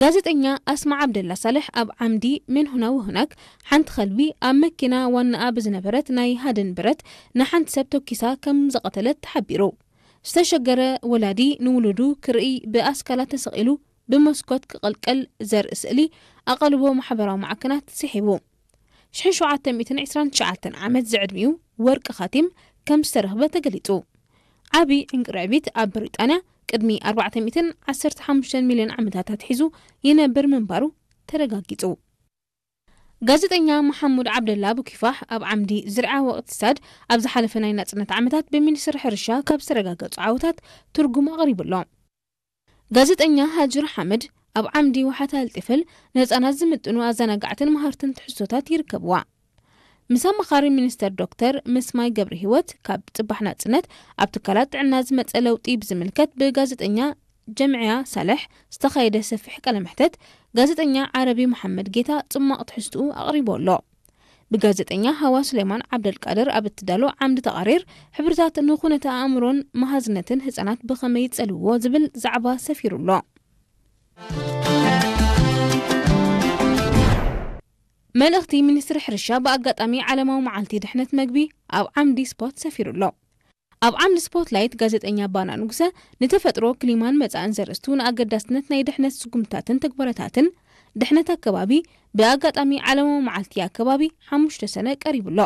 ጋዜጠኛ ኣስማ ዓብደላ ሳልሕ ኣብ ዓምዲ ሜን ሁና ወሁናክ ሓንቲ ከልቢ ኣብ መኪና ዋናኣ ብዝነበረት ናይ ሃድን ብረት ንሓንቲ ሰብ ተኪሳ ከም ዝቐተለት ተሓቢሩ። ዝተሸገረ ወላዲ ንውሉዱ ክርኢ ብኣስካላ ተሰቒሉ ብመስኮት ክቕልቀል ዘርኢ ስእሊ ኣቓልቦ ማሕበራዊ ማዕከናት ስሒቡ። ሽሕን ሸውዓተ ሚእትን ዕስራን ትሽዓተን ዓመት ዝዕድሚኡ ወርቂ ካቲም ከም ዝተረኽበ ተገሊጹ። ዓቢ ዕንቅርዕቢት ኣብ ብሪጣንያ ቅድሚ ኣርባዕተ ሚእትን ዓሰርተ ሓሙሽተ ሚልዮን ዓመታት ኣትሒዙ ይነብር ምንባሩ ተረጋጊጹ። ጋዜጠኛ መሓሙድ ዓብደላ ብኪፋሕ ኣብ ዓምዲ ዝርዓ ወቅትሳድ ኣብ ዝሓለፈ ናይ ናጽነት ዓመታት ብሚኒስትሪ ሕርሻ ካብ ዝተረጋገጹ ዓወታት ትርጉም ኣቕሪቡ ኣሎ። ጋዜጠኛ ሃጅር ሓመድ ኣብ ዓምዲ ዋሓታ ኣልጢፍል ንህጻናት ዝምጥኑ ኣዘናጋዕትን መሃርትን ትሕዝቶታት ይርከብዋ። ምስ ኣማኻሪ ሚኒስተር ዶክተር ምስማይ ገብረ ህይወት ካብ ጽባሕ ናጽነት ኣብ ትካላት ጥዕና ዝመጸ ለውጢ ብዝምልከት ብጋዜጠኛ ጀምዕያ ሳልሕ ዝተኻየደ ሰፊሕ ቃለ መሕተት ጋዜጠኛ ዓረቢ መሓመድ ጌታ ጽማቕ ትሕዝትኡ ኣቕሪቡ ኣሎ። ብጋዜጠኛ ሃዋ ሱሌማን ዓብደልቃድር ኣብ እትዳሎ ዓምዲ ተቓሪር ሕብርታት ንኹነተ ኣእምሮን መሃዝነትን ህጻናት ብኸመይ ይጸልውዎ ዝብል ዛዕባ ሰፊሩ ኣሎ። መልእኽቲ ሚኒስትሪ ሕርሻ ብኣጋጣሚ ዓለማዊ መዓልቲ ድሕነት መግቢ ኣብ ዓምዲ ስፖርት ሰፊሩ ኣሎ። ኣብ ዓምዲ ስፖርትላይት ጋዜጠኛ ባና ንጉሰ ንተፈጥሮ ክሊማን መጻእን ዘርእስቱ ንኣገዳስነት ናይ ድሕነት ስጉምታትን ተግባራታትን ድሕነት ኣከባቢ ብኣጋጣሚ ዓለማዊ መዓልቲ ኣከባቢ ሓሙሽተ ሰነ ቀሪቡ ኣሎ።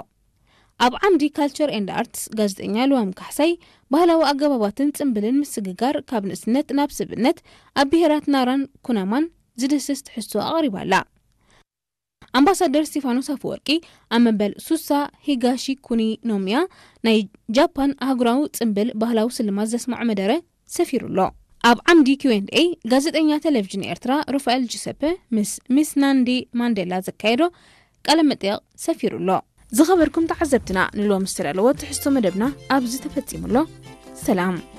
ኣብ ዓምዲ ካልቸር ኤንድ ኣርትስ ጋዜጠኛ ልዋም ካሕሳይ ባህላዊ ኣገባባትን ጽምብልን ምስግጋር ካብ ንእስነት ናብ ስብእነት ኣብ ብሄራት ናራን ኩናማን ዝድስስ ትሕዝቶ ኣቕሪባ ኣላ። ኣምባሳደር ስቲፋኖስ ኣፈወርቂ ኣብ መበል ሱሳ ሂጋሺ ኩኒ ኖሚያ ናይ ጃፓን ኣህጉራዊ ጽምብል ባህላዊ ስልማት ዘስምዖ መደረ ሰፊሩ ኣሎ። ኣብ ዓምዲ ኪው ኤንድ ኤ ጋዜጠኛ ቴሌቪዥን ኤርትራ ሩፋኤል ጁሰፐ ምስ ሚስ ናንዲ ማንዴላ ዘካየዶ ቃለ መጠየቕ ሰፊሩ ኣሎ። ዝኸበርኩም ተዓዘብትና ንሎሚ ዝተዳለወ ትሕዝቶ መደብና ኣብዚ ተፈጺሙ ኣሎ። ሰላም።